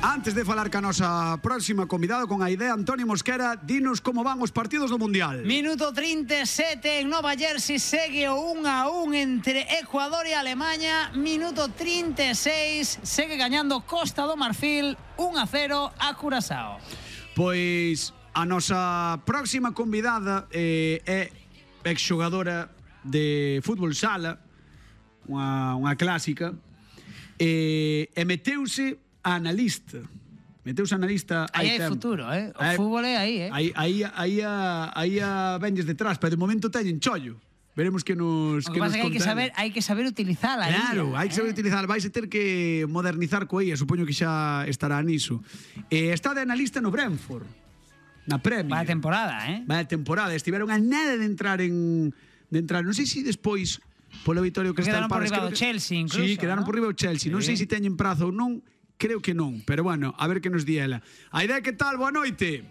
Antes de falar ca nosa próxima convidada con a idea, Antonio Mosquera, dinos como van os partidos do Mundial. Minuto 37 en Nova Jersey, segue o 1-1 entre Ecuador e Alemanha. Minuto 36, segue gañando Costa do Marfil 1-0 a Curazao. Pois a nosa próxima convidada é exxogadora de fútbol sala, unha clásica, e meteuse analista. Aí hai futuro, o fútbol é aí, Aí vendes detrás, pero de momento teñen chollo. Veremos que nos O que pasa é que hai que saber utilizala. Claro, hai que saber utilizar. Vais a ter que modernizar coa IA, supoño que xa estará niso. Está de analista no Brentford, na Premier. Vaya temporada, Vaya temporada. Estiveron a nada de entrar. Non sei se despois pola Vitoria Cristal Palace. Quedaron por riba do Chelsea, incluso. Sí, quedaron por riba do Chelsea. Non sei se teñen prazo ou non, creo que non. Pero bueno, a ver que nos di ela. A idea, que tal? Boa noite.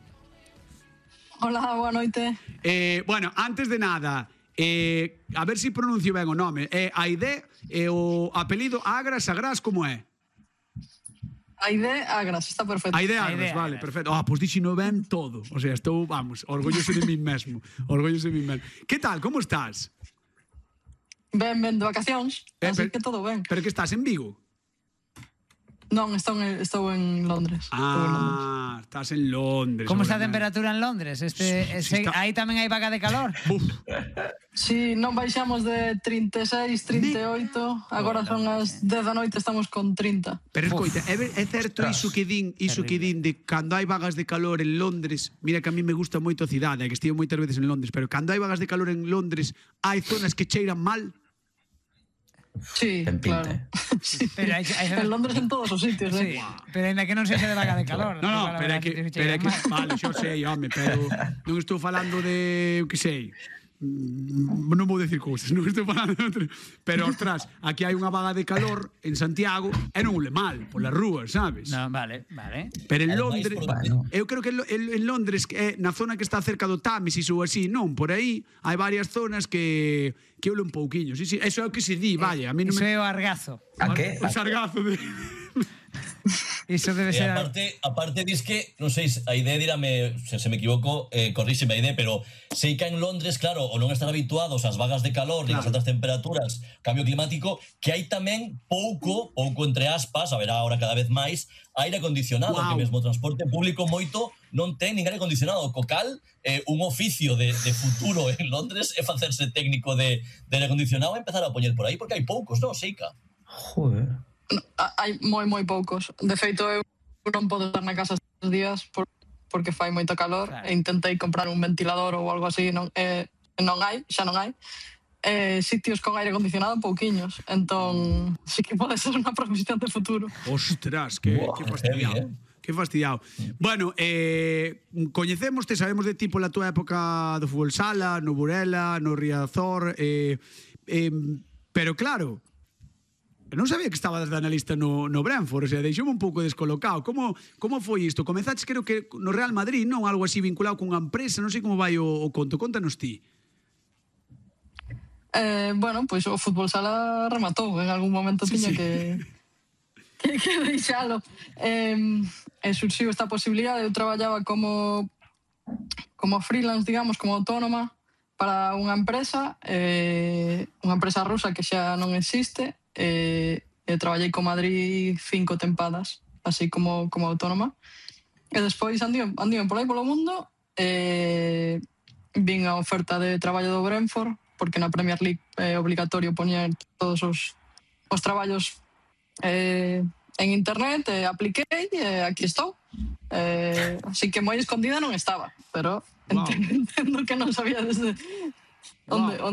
Hola, boa noite. Bueno, antes de nada, a ver se pronuncio ben o nome. A idea, o apelido Agras, como é? Aide Agras, está perfecto. Aide Agras, vale, perfecto. Pois dixino ben todo. O sea, estou, vamos, orgulloso de mí mesmo. Que tal, como estás? Ben de vacacións, así que todo ben. Pero que estás en Vigo? Non, estou en Londres. Estás en Londres. Como está a temperatura en Londres? Aí tamén hai vaga de calor? Si, non baixamos de 36, 38, agora son as 10 da noite, estamos con 30. Pero escoita, é certo iso que din de cando hai vagas de calor en Londres. Mira que a mí me gusta moito a cidade, que estivo moitas veces en Londres, pero cando hai vagas de calor en Londres, hai zonas que cheiran mal. Sí, claro. Sí. Pero en Londres en todos os sitios, sí, pero ainda que non sexa de vaga de calor. No, pero é que vale, xo sei, home, pero non estou falando de, que sei, non vou decir cousas, non estou falando de outro, pero, ostras, aquí hai unha vaga de calor en Santiago e non le mal polas rúas, sabes? No, vale. Pero en Londres, eu creo que en Londres, na zona que está cerca do Támesis ou así, non, por aí hai varias zonas que ule un pouquiño. Sí, eso é o que se di, vaya. Iso é o argazo. A que? O sargazo de... Iso debe ser... Aparte dis que, non sei, a idea dirame, se me equivoco, corríxeme a idea, pero sei que en Londres, claro, o non están habituados ás vagas de calor, nin ás altas temperaturas, cambio climático, que hai tamén pouco entre aspas, a ver agora cada vez máis, aire acondicionado, que mesmo o transporte público moito non ten nin aire acondicionado. Co cal, un oficio de futuro en Londres é facerse técnico de aire acondicionado e empezar a poñer por aí, porque hai poucos, non, Seica? Joder. Hai moi poucos. De feito, eu non podo estar na casa estes días porque fai moito calor, claro. E intentei comprar un ventilador ou algo así, xa non hai. Sitios con aire acondicionado pouquiños, entón sí que pode ser unha profesión de futuro. Ostras, que fastidiado. Que fastidiado. Bueno, coñecémoste, sabemos de ti pola túa época do fútbol sala, no Burela, no Riazor, pero claro, non sabía que estabas de analista no Brentford, o sea, deixoume un pouco descolocado. Como foi isto? Comezaches, creo que no Real Madrid, non? Algo así vinculado cunha empresa, non sei como vai o conto. Contanos ti. Bueno, pois o fútbol sala rematou. En algún momento tiña que deixalo. E surxiu esta posibilidade. Eu traballaba como freelance, digamos, como autónoma para unha empresa rusa que xa non existe. Traballei con Madrid 5 tempadas, así como autónoma, e despois andime por aí polo mundo, vin a oferta de traballo do Brentford, porque na Premier League é obligatorio poñer todos os traballos en internet, apliquei e aquí estou, así que moi escondida non estaba, pero entendo que non sabía desde onde